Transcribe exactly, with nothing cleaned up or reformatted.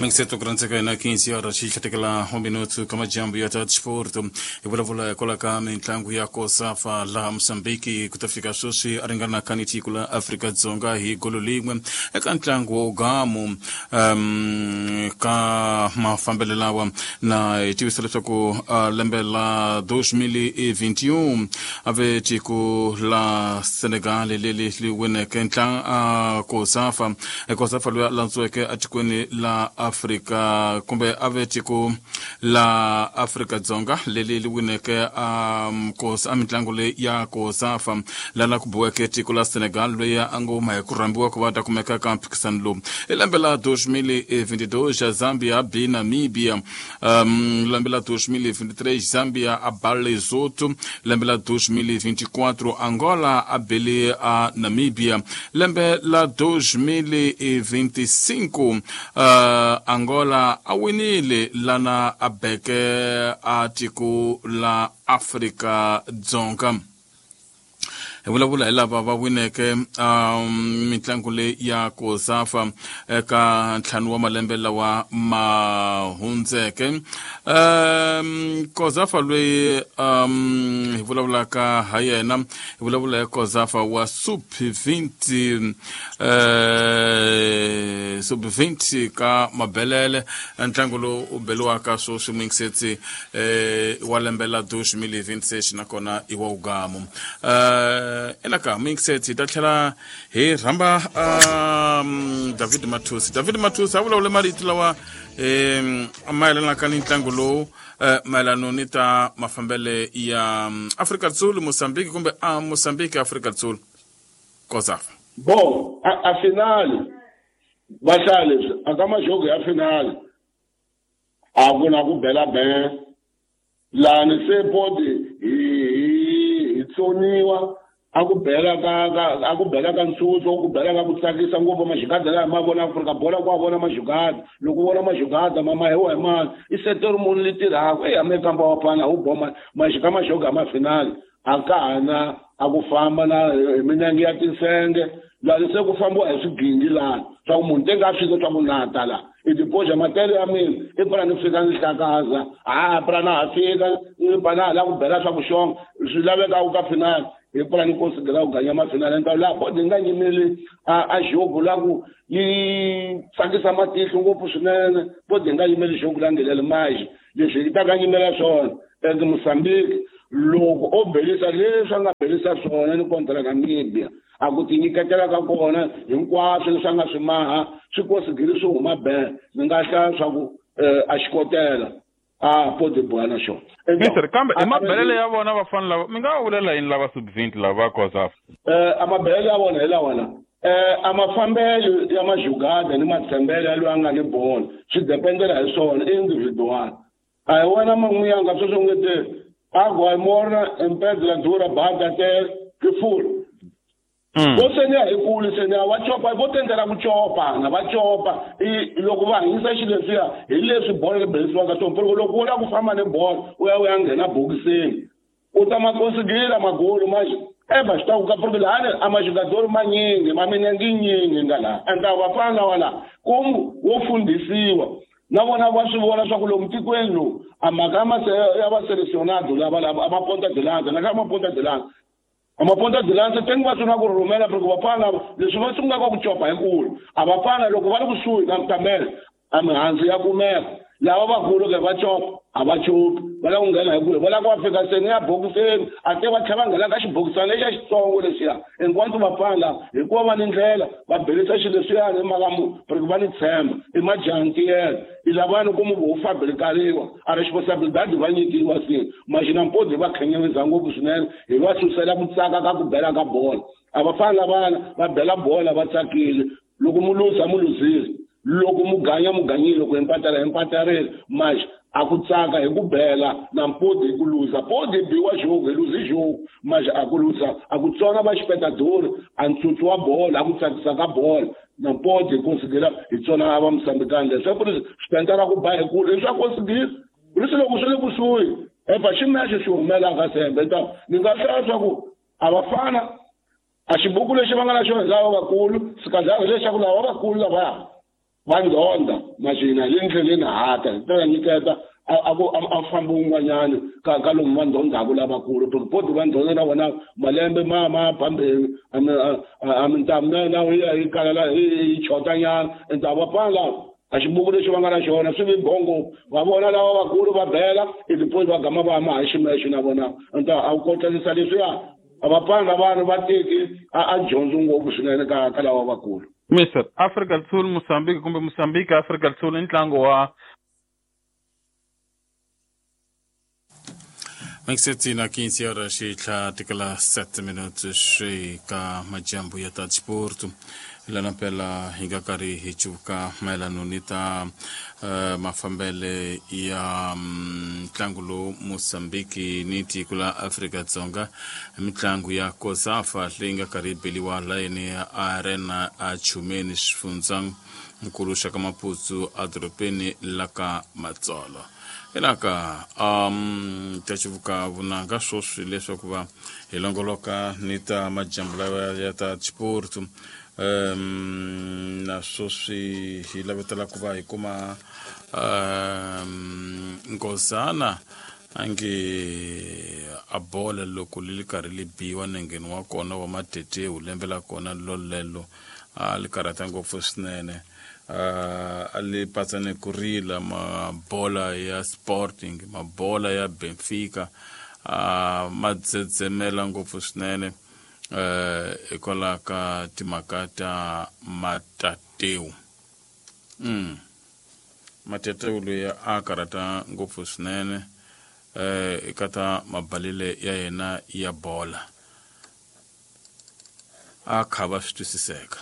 Mixeto kurantseka na quinze horas xi tlhatekela um minuto ka majambu ya ta disporto hi vulavula hikwalaho ka mitlangu ya Kosafa laha Mozambique ku ta fika sweswi a ringana ka ni tiko la Afrika-Dzonga hi golo lin'we eka ntlangu wo gamu um, ka mafambelo lawa na hi tivisa leswaku uh, lembe la dois mil e vinte e um a ve tiko la Senegal leri li wineke ntlangu uh, Kosafa Kosafa loyi a landziweke etikweni la Afrika kumbe a ve tiko la Afrika-Dzonga leri li wineke um, kos a mitlangu leyi ya Kosafa lana ku biweke tiko la Senegal loyi a ngo huma hi ku rhambiwa ku va ta kumeka ka mphikisano lowu hi lembe la dois mil e vinte e dois Zambia bi Namibia um, lembe la dois mil e vinte e três Zambia a ba Lesotho lembe la dois mil e vinte e quatro Angola a bele a Namibia lembe la dois mil e vinte e cinco uh, Angola a winile lana a beke a tiko la Afrika-Dzonga hi vulavula hi lava va wineke um, mitlangu leyi ya Kosafa eka ntlhanu wa malembe lawa ma hundzeke um, Kosafa loyi um, hi vulavulaka ha yena hi vulavula hi Kosafa wa sub vinte uh, sub vinte ka mabelele ntlangu lowu u beliwaka sweswi mingisetsi eh, wa lembe la dois mil e vinte e seis nakona i wa ugamu uh, enaka mingisetsi hi ta tlhela hi rhamba um, David Mathusi David Mathusi a vulavule marito lawa um mayelanaka ni ntlangu lowu uh, mayelano ni ta mafambele ya Afrika Dzulu Mozambique kumbe a Mozambique Afrika Dzulu Kosafa bon a, a finale va hlaya leswi a ka majogo ya finale a ku na ku bela ben lani se bodi hi hi tsoniwa a ku bela ka a ku bela ka ntsutso ku bela ka ku tsakisa ngopfu majigada laha ma vona Afrika bola ku a vona majigada loko u vona majigada ma mahewa hi mani i seteri munhu li tirhaka eyi ame kamba wa fana wu boma majika majogo ya mafinale a ka ha na a ku famba na hi minenge ya tinsenge lani se ku fambiwa hi swigingi lani swa ku munhu te nga fika swa ku nata la i tipoxa matele ya mina i pfuna ni fika ni hlakaza ha pfuna na ha fika ni pfa na ha lava ku bela swa ku xonga swi lavekaka ka finale hi pfuna ni konsidera ku ganya mafinale nta laha bodi yi nga nyimeli a a jogo la ku yi tsakisa matihlo ngopfu swinene bodi yi nga yimeli jogo la ngheleli maji leswi yi ta ka nyimela swona and Mozambique loko o belisa leswi a nga belisa swona ni kontra Namibia a ku tinyiketela ka kona hinkwaswo leswi a nga swi maha swi kosigiri swi huma ben ni nga hlaya swa ku a xikotela a podi boha na xona mister kambe i mabelele ya vona vafana lava mi nga vulela yini lava sub vinte lava Kosafa a mabelele ya vona hi lawa la a mafambelo ya majugada ni matshembele ya loyi a nga ni bolo swi dependela hi swona i individual a hi wena man'wiyanga sweswo nge te água morna em pedra dura bata até que furo vo seniya hi kulu seniya va copa vo tendela ku copa na va copa i loko va hanyisa xilo leswiya hi leswi bolo ri belisiwaka swona porque loko u lava ku famba ni bolo u ya u ya nghena bokisini u ta ma konsigila magolo ma eva xi ta ku ka porque lahani a majugadori manyingi ma minenge yinyingi nga laha ende vafana lava laha ku wo fundhisiwa na vona va swi vona swa ku lomu tikweni lowu a mhaka ya va selecionado lava lava a ma ponta de lanza na ka ma ponta de lanza a ma ponta de lanza tengi va sungula ku rhumela porque vafana leswi va sungulaka ku copa hi kulu a vafana loko va ri kusuhi na kamela a mihandzu ya kumeka lava vakulu ke va copa a va copi va lava ku nghena hi kule va lava ku va fika seni ya bokiseni a te va tlhela va nghena ka xibokisana lexiya xitsongo lexiya hinkwaswo vafana lava hikuva va ni ndlela va belisa xilo leswiyani hi mhaka mu porque va ni tshemba i majantiyela i lavani ku mu vo fabrikariwa a responsabilidade va nyikiwa se maxina mpodi va khenyeweza ngopfu swinene hi va susela ku tsaka ka ku bela ka bolo a va fana lavana va bela bola va tsakile loko mu luza mu luzile loko mu ganya mu ganyile loko empatela empatarile manje a ku tsaka hi ku bela na mpodi hi ku luza podi biwa jogo hi luzi jogo manje a ku luza a ku tsona va xipetadori a ntsutsu wa bolo a ku tsakisa ka bolo na mpodi hi konsigela hi tsona va Mozambikani leswaku ri swi ku ba hi kulu leswaku konsigela leswi loko swi le kusuhi eva ximexe xi humelaka sembe ta ni nga hlaya swa ku a vafana a xibuku lexi va nga na xona hi lava vakulu sikadlaka leswaku lava vakulu lavaya Va ndhonda maxina le ndleleni hata ta nyiketa a ku a famba un'wanyana ka ka lomu va ndhondzaka lavakulu because va ndhonda na vona malembe ma ma phambeni a mintamu na na yi kala yi chotanyana nta va pfala a xibuku lexi va nga na xona swi vi bongo va vona lava vakulu va bela i va gama va ma hi ximexo na vona nta a wu kotlanisa leswiya a va pfanga vanhu va teki a dyondzi ngopfu swinene ka ka lava vakulu. Mister Afrika do Sul Moçambique kumbe Moçambique Afrika do Sul i ntlangu wa Maxetina quinze horas e tlha sete minutos ka majambu ya ta disporto lana pela hi nga karhi hi cuka mayelano ni ta uh, mafambele ya ntlangu um, lowu Moçambique ni tiko la Afrika-Dzonga mitlangu ya COSAFA leyi nga karhi yi beliwa layeni ya Arena a Chumeni xifundzankulu xa ka Maputo edorobeni la ka Matsolo. Elaka um ta civuka vunanga swoswi leswaku va hi longoloka ni ta majambu lawa ya ta disporto um na swoswi hi lavetela ku va hi kuma um nkosana ange a bola loko li li karhi li biwa nengeni wa kona wa matetewu lembe la kona lolelo a li karhata ngopfu swinene. Uh, a li patsane ku rila mabola ya Sporting mabola ya Benfica uh, ma dzedzemela ngopfu swinene hikwalaho uh, ka timhaka ta Matateu. mm. Matateu loyi a karhata ngopfu swinene uh, eka ta mabalele ya yena ya bola a kha va swi twisiseka.